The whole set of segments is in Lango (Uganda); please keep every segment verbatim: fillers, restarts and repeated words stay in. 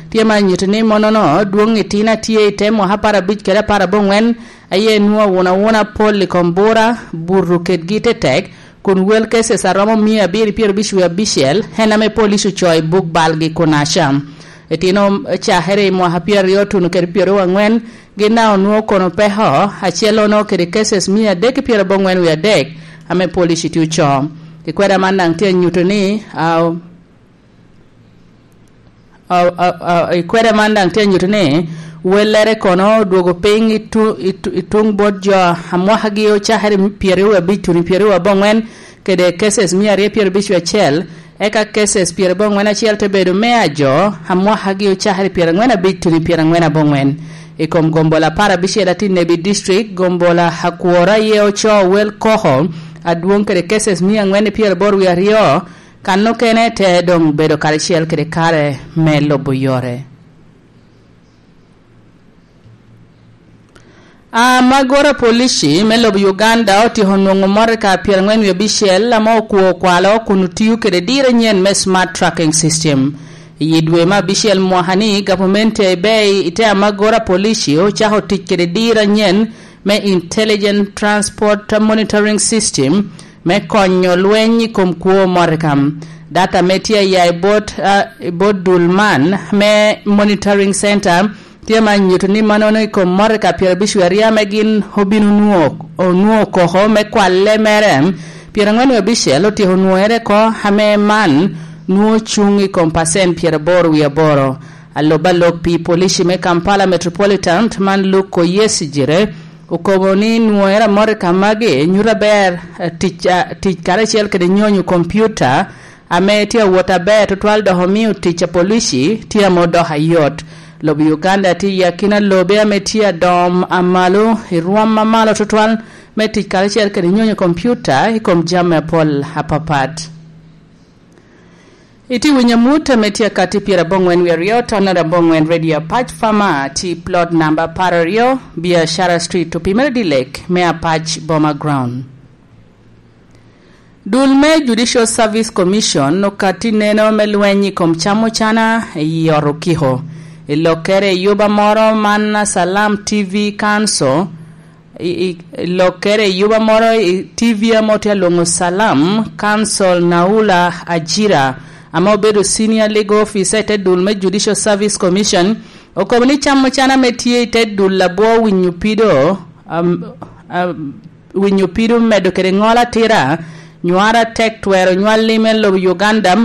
tye ma nyuto ni monono dwoŋ itino a tye i te mwaka apar abic kede apar aboŋwen, aye nwoŋo awuna awuna pol i kom bura, buto kedgi tetek, kun wel cases a romo mia abiro pyero abic wie abicel, en ame police ocoo i buk balgi kun aca. Itino cakere i mwaka pyeraryo tuno kede pyeraryo angwen, gin daŋ onwoŋo kono peko, acel ono kede cases mia adek pyerabongwen wie adek, ame police tye ocoo. I kweda man daŋ tye anyuto ni, ah, ah, ah, ah, i kweda man daŋ tye anyuto ni, wellere kono odwogo piny i tu-, i tu-, i tuŋ bot jo a mwakagi ocakere i pyeraryo wie abic tuno i pyeraryo abongwen, kede cases mia aryo pyerabic wie acel, eka cases pyerabongwen acel te bedo me a jo a mwakagi ocakere i pyerangwen abic tuno i pyerangwen abongwen. I kom gombola apar abicel a tye i Nebi District, gombola akwora aye ocoo wel koko adwoŋ kede cases mia angwen i pyeraboro wie aryo, kan okene te doŋ bedo karacel kede kare me lubo yore. Amagora polici me lobo Uganda otyeko nwoŋo motoka pyerangwen wie abicel ame okwo okwalo kun otio kede diro anyen me Smart Tracking System. I dwe me abicel mwaka ni, gavumenti a Ebei i te amagora polici ocako tic kede diro anyen me Intelligent Transport Monitoring System me konyo lweny i kom kwo motoka. Data ame tye aya i bot, ah, i bot dul man me Monitoring Center tye ma nyuto ni mannono i kom motoka pyerabic wie aryo ame gin obino nwo-, onwoŋo koko me kwalle mere, pyerangwen wie abicel otyeko nwoŋere oko, ame man nwoŋo cuŋ i kom pacent pyeraboro wie aboro. Alub alok pi polici me Kampala Metropolitan man Luke Oyesijire okobo ni nwoŋere a motoka magi nyuto aber, eh, tic, ah, tic karacel kede nyonyo kompiuta ame tye awot aber tutwal dok omio tic a polici tye ame odoko ayot. Lobo Uganda tye i akina lobe ame tye adom amalo i rwom amalo tutwal me tic karacel kede nyonyo kompiuta i kom jami apol apapat. Itye winyo amut ame tye akati pyerabongwen wie aryo, tonere abongwen Radio Apac Farmer, tye plot namba apar aryo, Biashara Street, opimere dilek me Apac Boma Ground. Dul me Judicial Service Commission okatti neno me lweny i kom cam ocana i ot okiko. I lokkere i yuba moro man Salam T V Council, i, i, i lokkere i yuba moro i T V ame otye alwoŋo Salam Council, Naula Ajira, ame obedo Senior Legal Officer i te dul me Judicial Service Commission, okobo ni cam ocana ame tye i te dul labwo winyo pido, am, am, winyo pido medo kede ŋol atira, nywara tek twero nywalli me lobo Uganda,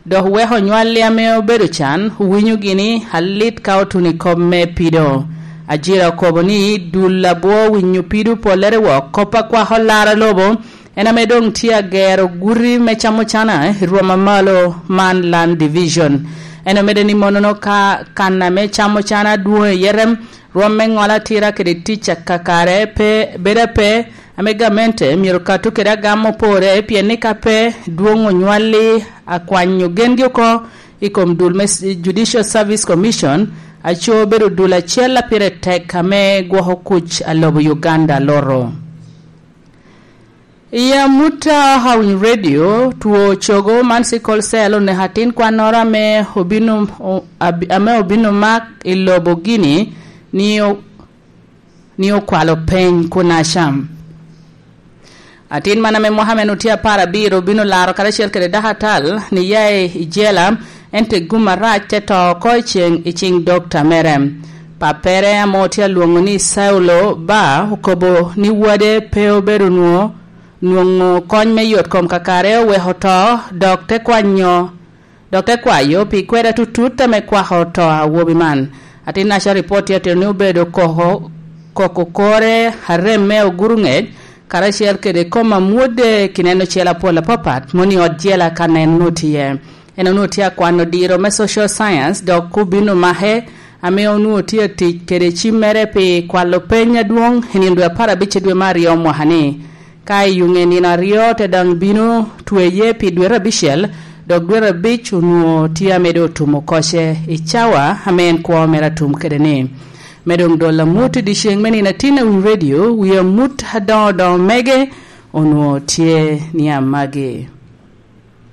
dok weko nywalli ame obedo can, owinyogi ni alit ka otuno i kop me pido. Ajira okobo ni dul abwo winyo pido pollere wok kop akwako laro lobo, en ame doŋ tye agero guti me camo cana i rwom amalo man Land Division. En omedde ni monono ka kan ame camo cana dwoŋ i Yerem, rwom me ŋolo atira kede tic akakare pe, bedo ape, ame gamente myero kato kede agam opore, pien ni ka pe dwoŋ onywalli akwanyo gengi oko i kom dul me s-, Judicial Service Commission, aco bedo dul acel a pire tek ame gwoko kuc a lobo Uganda loro. I amutta Hawiny Radio, two cogo man sickle cell oneko atin kwannoro ame obino, o-, abi-, ame obino mak i lobo Guinea ni o-, ni okwalo peny kun acam. Atin man ame mwaka men otye apar abiro obino laro karacel kede dako atal ni ya i jela, ento gum arac te to oko i ceŋ, i ciŋ dokta mere. Pappere ame otye alwoŋo ni Saulo Ba okobo ni wade pe obedo nwo-, nwoŋo kony me yot kom kakare oweko to, dok te kwanyo, dok te kwayo pi kweda tutut ame kwako to awobi man. Atin naca ripot tye atito ni obedo koko, koko kore arem me oguro ŋec, karacel kede kom amwodde kineno cel apol apapat, mono i ot jela ka nen onwoŋo tye. En onwoŋo tye akwano diro me social science, dok obino make, ame onwoŋo tye atic kede cimmere pi kwalo peny adwoŋ i nino dwe apar abic i dwe me aryo mwaka ni. Ka i yuŋe nino aryo te daŋ bino tweye pi dwete abicel, dok dwete abic onwoŋo tye ame doŋ otumo koce i cawa ame en kwo mere atum kede ni. Me doŋ dolo amut i dyeceŋ me nino atin a Winy Radio, wi amut adoŋo doŋo mege onwoŋo tye ni amagi.